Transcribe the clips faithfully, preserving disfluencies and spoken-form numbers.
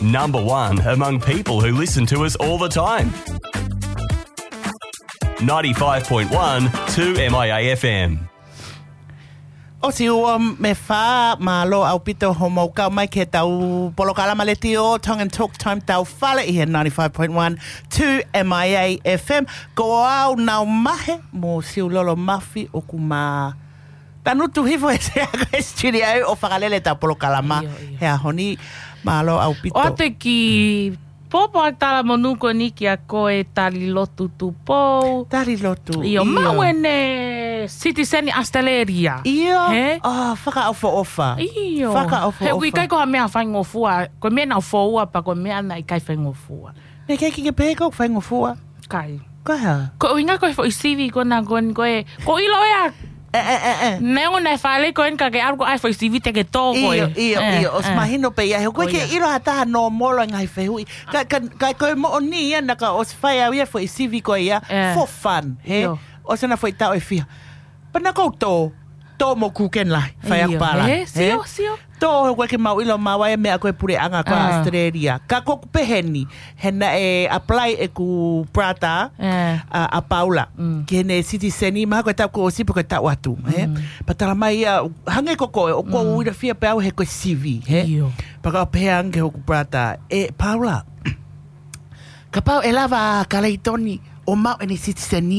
Number one among people who listen to us all the time. Ninety-five point one two M I A F M. ʻOsi ua mei fā, mālō ʻaupito hoʻomou kau mai ki heʻetau polokalama letiō Tongan Talk Time tau fale ʻi he ninety-five point one two M I A F M. Ko au Nau Mahe mo Siulolo Mafi ʻoku ma tanutu hifo he sea ko e studio ʻo fakalele ʻetau polokalama. ʻIo, ʻio. He ʻaho ni, mālō ʻaupito. ʻOatu e kiʻi pōpoaki talamonū ko eni kia koe Talilotu Tupou. Talilotu, ʻIo, ʻio. maʻu ʻene citizen ʻAositelēlia. ʻIo. He? ʻO, fakaʻofoʻofa. ʻIo. Fakaʻofoʻofa. He ʻoku ʻikai ko ha meʻa faingofua, ko e meʻa naʻe foua pea ko e meʻa naʻe ʻikai faingofua. Naʻe ʻikai ke ke pehē ʻoku faingofua. ʻIkai. Ko e hā? Ko e ʻuhinga ko e foʻi sivi ko ena ko eni ko e, ʻoku ou ʻilo ia. ʻE, ʻe, ʻe, ʻe. Neongo naʻe fale ko eni ka ke ʻalu ko ē ʻai e foʻi sivi te ke tō ko ē. ʻIo, ʻio, ʻE, ʻio. ʻOsi ʻe. mahino pē ia. He ʻoku ʻikai ke ʻIo. ʻilo ha taha nōmolo e ngaahi fehuʻi. Ka, ka, ka ko e moʻoni ia naʻa ku ʻosi fai au ia e foʻi sivi ko ia. ʻE. For fun, he? ʻIo. ʻOsi ʻena foʻi taʻu ʻe fiha. Pea naʻa ku tō, tō mo Kūkeni Lahi, fai aku ʻIo. pālangi, He, he? sio, sio. Tō he ʻoku ʻikai ke mau ʻilo maua e meʻa ko e puleʻanga ko ʻAositelēlia. Ka ko ʻeku pehē ni, he naʻe apply ʻeku brother, ʻa, ʻa Paula, ki heʻene citizen, mahalo ko e taʻu kuo ʻosi pe ko e taʻu atu, he? Pea tala mai ia, hangē ko koe, ʻoku ou ʻilo fia pē au he ko e sivi, he? ʻIo. Pea ka pehē ange hoku brother, ʻE Paula, kapau ʻe lava ʻa Kaleitoni ʻo maʻu ʻene citizen,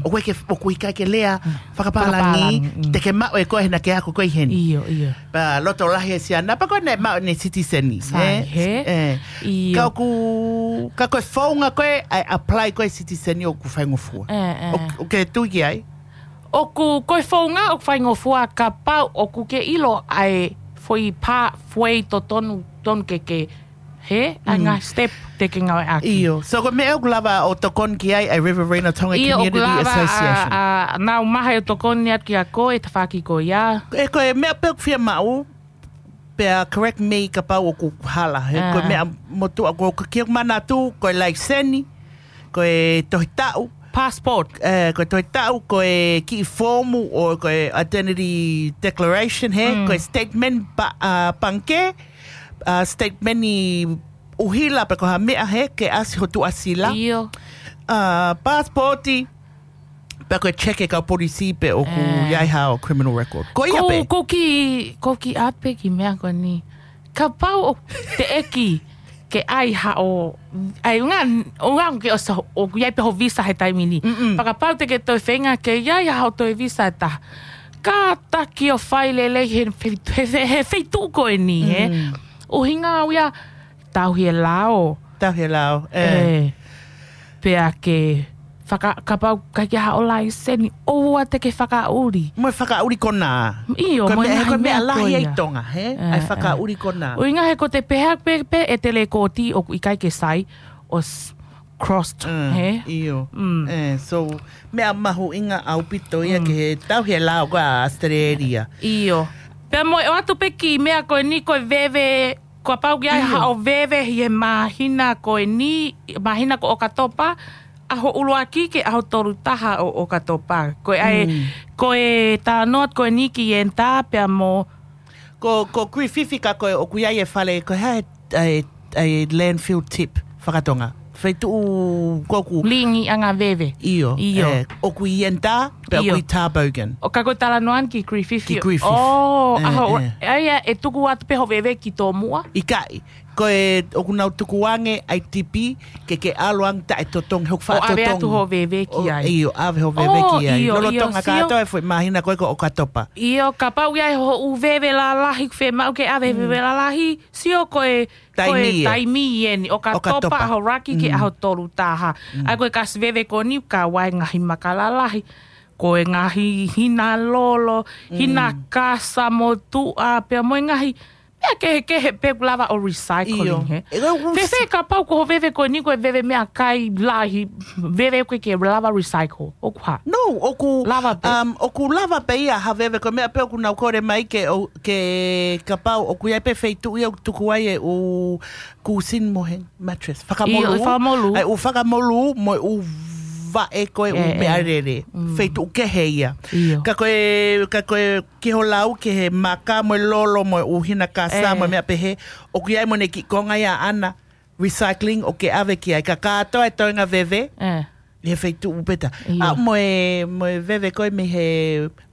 ʻoku ʻikai ke, ʻoku ʻikai ke lea fakapālangi, Fakapālangi, mm. te ke maʻu ʻe koe he naʻa ke ako koe ʻi heni. ʻIo, ʻio. Pea loto lahi e siana, pea ko ē naʻe maʻu ʻene citizen, Sai, he? he? ʻE. ʻIo. Ka ʻoku, ka ko e founga ko ē ʻa e apply ko ē citizen ʻoku faingofua. ʻE, ʻe. ʻOku, ʻoku ke tui ki ai? ʻOku, ko e founga ʻoku faingofua kapau ʻoku ke ʻilo ʻa e foʻi pathway totonu, tonu ke ke He, ʻa e ngaahi step te ke ngāueʻaki. ʻIo. So, ko e meʻa ʻoku lava ʻo tokoni ki ai ʻa e Riverina Tonga Community Association. ʻIo, ʻoku lava ʻa, ʻa Nau Mahe ʻo tokoni atu kia koe e tafaʻaki ko ia. ʻE, ko e meʻa pē ʻoku fiemaʻu, pea correct me kapau ʻoku hala. He, ko e meʻa motuʻa ko ē ʻoku ou manatu, ko e laiseni, ko e tohi taʻu. Passport. ʻE, ko e tohi taʻu, ko e kiʻi foomu ʻo ko e identity declaration, he, ko e statement pa-, ʻa, pangikē, ʻa, statement ʻi ʻuhila pe ko ha meʻa he ke ʻasi ho tuʻasila. ʻIo. ʻA, passport, pea ko e check e kau polisi pe ʻoku ʻi ai haʻo criminal record. Ko ia pē. Ko e kiʻi, ko e kiʻi ʻapi ki he meʻa ko eni. Kapau ʻoku teʻeki ke ʻai haʻo, ʻai ʻunga, ʻunga ke ʻosi, ʻoku ʻi ai pē ho visa he taimi ni. Pea kapau te ke toe feinga ke ʻi ai haʻo toe visa ʻe taha. Kātaki ʻo fai lelei he, he, he, he feituʻu ko eni, he. ʻUhinga au ia, tauhi e lao. Tauhi e lao, ʻe. ʻE. Pea ke faka-, kapau ʻikai ke haʻo laiseni, ʻoua te ke fakaʻuli. Mo e fakaʻuli konā. ʻIo, ko e mo e meʻa, he ko e ngaahi meʻa meʻa lahi ko ia ʻi Tonga, he? ʻE, ʻAi e fakaʻuli konā. ʻUhinga he ko e te pehē pē, pē ʻete lēkooti ʻoku ʻikai ke sai, ʻosi crossed, he? ʻIo. ʻE, so, meʻa mahuʻinga ʻaupito ia ki he tauhi e lao ko ē ʻa ʻAositelēlia. ʻIo. Pea mo e ʻoatu pē kiʻi meʻa ko eni ko e veve, kapau ʻoku ʻi ai haʻo veve ʻi he māhina ko eni, māhina ko ʻOkatopa, ʻaho ʻuluaki ki he ʻaho tolu taha ʻo ʻOkatopa. Ko e ʻai, ko e talanoa ko eni ki ʻEnitā pea mo. Ko, ko Griffith ka ko e ʻoku ʻi ai e fale, ko e hā e, e, e landfill tip fakatonga. Feituʻu ko ʻoku. Lingiʻanga veve. ʻIo, ʻio. ʻE, ʻoku ʻi ʻEnitā, pea ʻoku ʻi Tarboghan. ʻO ka ko e talanoa ki Griffith. Ki Griffith. ʻO, ʻaho, ʻe, ʻe. ʻAi, ʻe tuku atu pē ho veve ki tōmuʻa. ʻIkai, ko e ʻoku nau tukuange ʻa e tipi, ke ke ʻalu ange taʻe totongi, hoku faʻa totongi. ʻO ʻave atu ho veve ki ai. ʻIo, ʻave ho veve ki ai. ʻIo, lolotonga kātoa e foʻi māhina ko ē ko ʻOkatopa. ʻIo, kapau ʻi ai hoʻo veve lalahi, fiemaʻu ke ʻave veve lalahi, sio ko e, ko e taimi ʻeni, ʻOkatopa, ʻaho ʻuluaki ki he ʻaho tolu taha. ʻAi ko e kasi veve ko eni, ka ʻoku ʻi ai e ngaahi maka lalahi. Ko e ngaahi hina lolo, hina kasa mo tuʻa, pea mo e ngaahi meʻa kehekehe pē ʻoku lava ʻo recycling, he? ʻIo. Fēfē kapau ko ho veve ko eni ko e veve meʻakai lahi, veve ʻoku ʻikai ke lava recycle, ʻoku hā? No, ʻoku lava pē. Um, ʻoku lava pē ia ha veve ko e meʻa pē ʻoku nau kole mai ke, ʻo, ke kapau ʻoku ʻi ai pē feituʻu ia ʻoku tuku ai e ʻū kūsini mo e mattress. Fakamolū. ʻIo, fakamolū. ʻAi ʻū fakamolū mo e ʻū vaʻe ko e ʻū meʻalele. Feituʻu kehe ia. Ka ko e, ka ko e ki ho lau ki he maka mo e lolo mo e ʻū hina kasa mo e meʻa pehē, ʻoku ʻi ai mo ʻene kiʻi konga ia ʻaʻana, recycling ʻoku ke ʻave ki ai. Ka kātoa e toenga veve, ʻi he feituʻu pē ta. ʻA mo e, mo e veve ko e mei he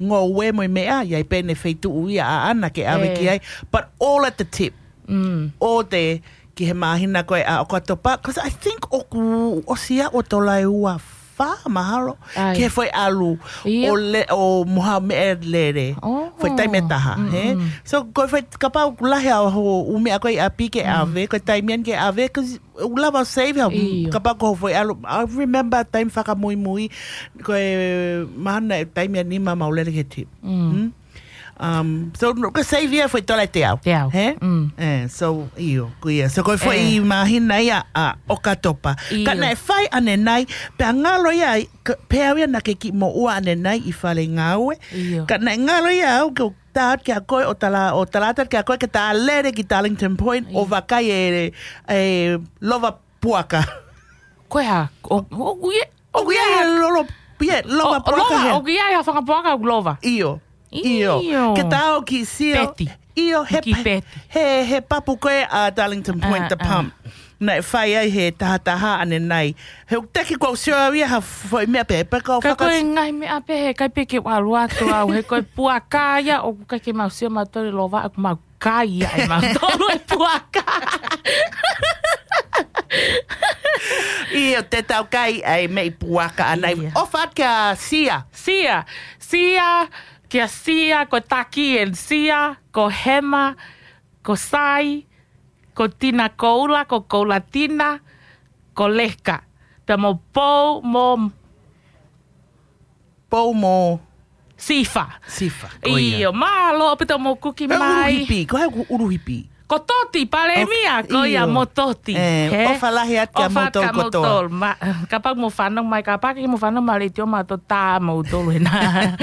ngoue mo e meʻa, ʻi ai pē ʻene feituʻu ia ʻaʻana ke ʻave ki ai. But all at the tip. ʻO te ki he māhina ko e ʻa ʻOkatopa, 'cause I think ʻoku ʻosi ʻa ʻo tola e ua fā mahalo. Ki he foʻi ʻalu ʻo le, ʻo mo ha meʻalele. Foʻi taimi ʻe taha, he? So, ko e foʻi kapau ʻoku lahi ʻa ho ʻū meʻa ko e ʻi ʻapi ke ʻave, ko e taimi ʻeni ke ʻave, 'cause ʻoku lava save ha, kapau ko ho foʻi ʻalu. I remember taimi fakamuimui, ko e mahalo e taimi ʻe nima mau lele ki he tip. Um, so, no, ko e save ia foʻi tola ʻe teau. Teau. He? So, ʻio, ko ia. So, ko e foʻi māhina ia ʻa ʻOkatopa. Ka naʻe fai ʻanenai, pea ngalo ia, pea au ia naʻa ke kiʻi moʻua ʻanenai ʻi fale ngāue. Ka naʻe ngalo ia au ke tā atu kia koe ʻo tala, ʻo tala atu kia koe ke ta lele ki Darlington Point ʻo vakai e, e lova puaka. Ko e hā? ʻO, ʻo, ʻo, ʻoku ʻi ai e lolo, ʻi ai e lova puaka he. ʻOku ʻi ai ha fanga puaka ʻoku lova. ʻIo. ʻIo. Ke ta ō ki Sio. ʻIo, he, he, he papu ko e ʻa Darlington Point, the pump. Naʻe fai ai he tahataha ʻanenai. He ʻoku teʻeki ke u sio au ia ha foʻi meʻa pē, pea ka u faka- Ka ko e ngaahi meʻa pē he ʻikai pē ke u ʻalu atu au, he ko e puaka ia ʻoku ʻikai ke mau sio mautolu lova, ʻoku mau kai ia ʻe mautolu e puaka. ʻIo, te tau kai ai meʻi puaka ʻanai. ʻOfa atu kia Sia. Sia. Sia, kia Sia, ko Taki and Sia, ko Hema, ko Sai, ko Tina Koula, ko Koula Tina, ko Leka. Pea mo Pou, mo Pou mo Sifa. Sifa, ko ia. ʻIo, mālō ʻaupito mo kuki mai. Uluhipi, ko hai ʻoku uluhipi? Ko Toti, Palēmia, ko ia mo Toti. ʻOfa lahi atu kia moutolu kotoa. Kapau mo fanongo mai, kapau ke mo fanongo mai leitio mautolu tā moutolu hena.